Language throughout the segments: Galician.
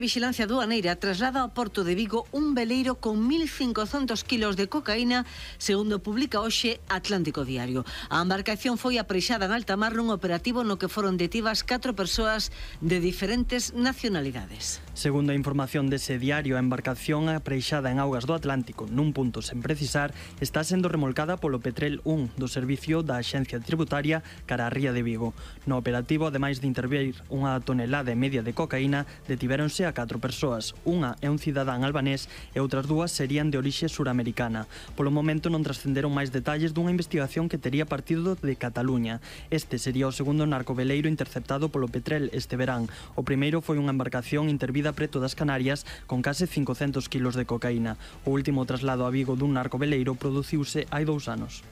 Vixilancia aduaneira traslada ao Porto de Vigo un veleiro con 1.500 kilos de cocaína, segundo publica hoxe Atlántico Diario. A embarcación foi aprexada en alta mar nun operativo no que foron detidas 4 persoas de diferentes nacionalidades. Segundo a información dese diario, a embarcación aprexada en augas do Atlántico nun punto sen precisar está sendo remolcada polo Petrel 1 do servicio da Axencia Tributaria cara a Ría de Vigo. No operativo, ademais de intervir unha tonelada e media de cocaína, detivéronse a 4 persoas. Unha é un cidadán albanés e outras 2 serían de orixe suramericana. Polo momento non trascenderon máis detalles dunha investigación que tería partido de Cataluña. Este sería o segundo narcoveleiro interceptado polo Petrel este verán. O primeiro foi unha embarcación intervida preto das Canarias con case 500 kilos de cocaína. O último traslado a Vigo dun narcoveleiro produciuse hai 2 anos.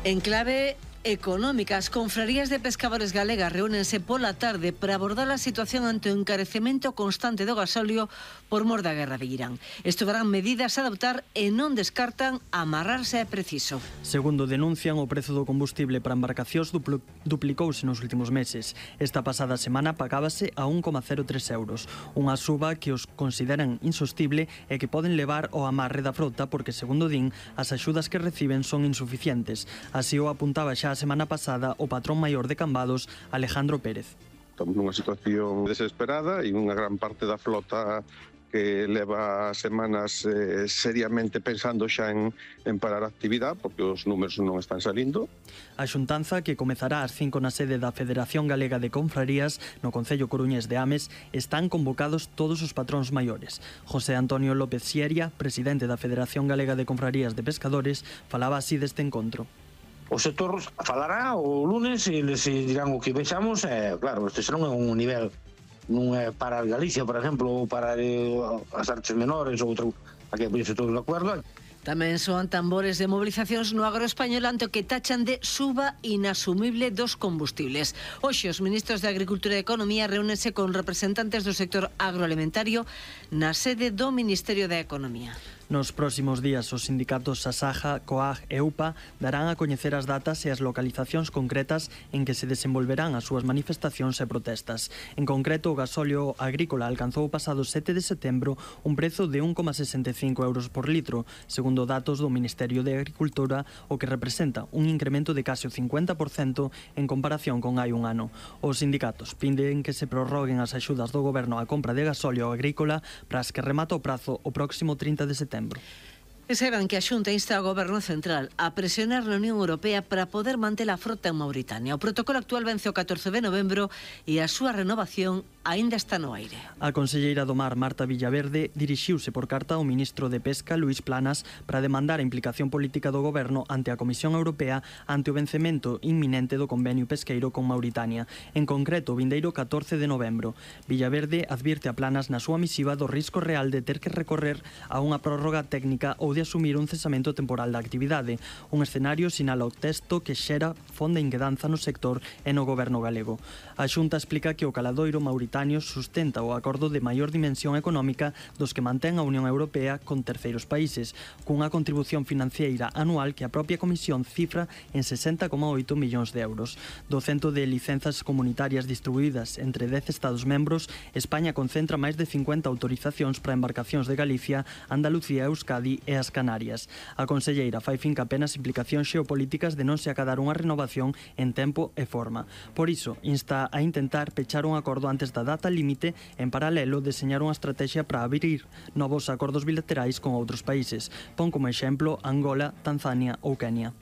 En clave económica, as confrarías de pescadores galegas reúnense pola tarde para abordar a situación ante o encarecemento constante do gasóleo por mor da guerra de Irán. Estudarán medidas a adoptar e non descartan amarrarse é preciso. Segundo denuncian, o prezo do combustible para embarcacións duplicouse nos últimos meses. Esta pasada semana pagábase a 1,03 euros, unha suba que os consideran insostible e que poden levar ao amarre da frota porque, segundo din, as axudas que reciben son insuficientes. Así o apuntaba xa a semana pasada o patrón maior de Cambados, Alejandro Pérez. Estamos nunha situación desesperada e unha gran parte da flota que leva semanas seriamente pensando xa en parar a actividade porque os números non están salindo. A xuntanza, que comezará ás 5 na sede da Federación Galega de Confrarías no concello coruñés de Ames, están convocados todos os patróns maiores. José Antonio López Xieria, presidente da Federación Galega de Confrarías de Pescadores, falaba así deste encontro. O sector falará o lunes e les dirán o que vexamos. Claro, este non é un nivel, non é para Galicia, por exemplo, ou para as artes menores ou outro, aquí pois todos de acordo. Tamén soan tambores de movilizacións no agro español ante o que tachan de suba inasumible dos combustibles. Hoxe os ministros de Agricultura e Economía reúnense con representantes do sector agroalimentario na sede do Ministerio da Economía. Nos próximos días, os sindicatos Asaja, COAG e UPA darán a coñecer as datas e as localizacións concretas en que se desenvolverán as súas manifestacións e protestas. En concreto, o gasóleo agrícola alcanzou o pasado 7 de setembro un prezo de 1,65 euros por litro, segundo datos do Ministerio de Agricultura, o que representa un incremento de case o 50% en comparación con hai un ano. Os sindicatos piden que se prorroguen as axudas do goberno á compra de gasóleo agrícola para as que remata o prazo o próximo 30 de setembro. E saben que a Xunta insta ao Goberno Central a presionar na Unión Europea para poder manter a frota en Mauritania. O protocolo actual vence o 14 de novembro e a súa renovación aínda está no aire. A conselleira do Mar, Marta Villaverde, dirixiuse por carta ao ministro de Pesca, Luís Planas, para demandar a implicación política do Goberno ante a Comisión Europea ante o vencemento inminente do convenio pesqueiro con Mauritania, en concreto o vindeiro 14 de novembro. Villaverde advirte a Planas na súa misiva do risco real de ter que recorrer a unha prórroga técnica ou de asumir un cesamento temporal da actividade. Un escenario, sinala o texto, que xera fonda inquedanza no sector e no goberno galego. A Xunta explica que o caladoiro mauritano sustenta o acordo de maior dimensión económica dos que mantén a Unión Europea con terceiros países, cunha contribución financiera anual que a propia Comisión cifra en 60,8 millóns de euros. Do cento de licenzas comunitarias distribuídas entre 10 Estados membros, España concentra máis de 50 autorizacións para embarcacións de Galicia, Andalucía, Euskadi e as Canarias. A conselleira fai finca apenas implicacións xeopolíticas de non se acadar unha renovación en tempo e forma. Por iso, insta a intentar pechar un acordo antes da data límite, en paralelo deseñar unha estrategia para abrir novos acordos bilaterais con outros países. Pon como exemplo Angola, Tanzania ou Kenia.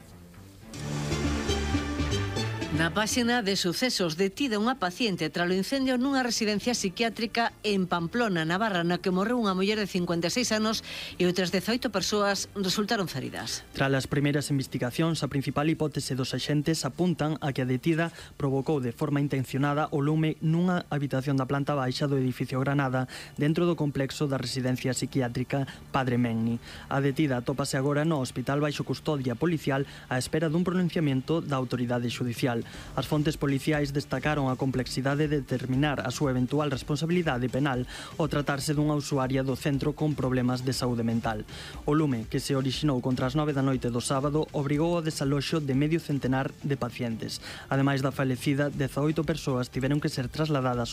Na páxina de sucesos, detida unha paciente tralo incendio nunha residencia psiquiátrica en Pamplona, Navarra, na que morreu unha muller de 56 anos e outras 18 persoas resultaron feridas. Tras as primeiras investigacións, a principal hipótese dos axentes apuntan a que a detida provocou de forma intencionada o lume nunha habitación da planta baixa do edificio Granada, dentro do complexo da residencia psiquiátrica Padre Menni. A detida atópase agora no hospital baixo custodia policial á espera dun pronunciamento da autoridade xudicial. penal. As fontes policiais destacaron a complexidade de determinar a súa eventual responsabilidade penal ao tratarse dunha usuaria do centro con problemas de saúde mental. O lume, que se orixinou contra as 9 da noite do sábado, obrigou ao desaloxo de medio centenar de pacientes. Ademais da falecida, 18 persoas tiveron que ser trasladadas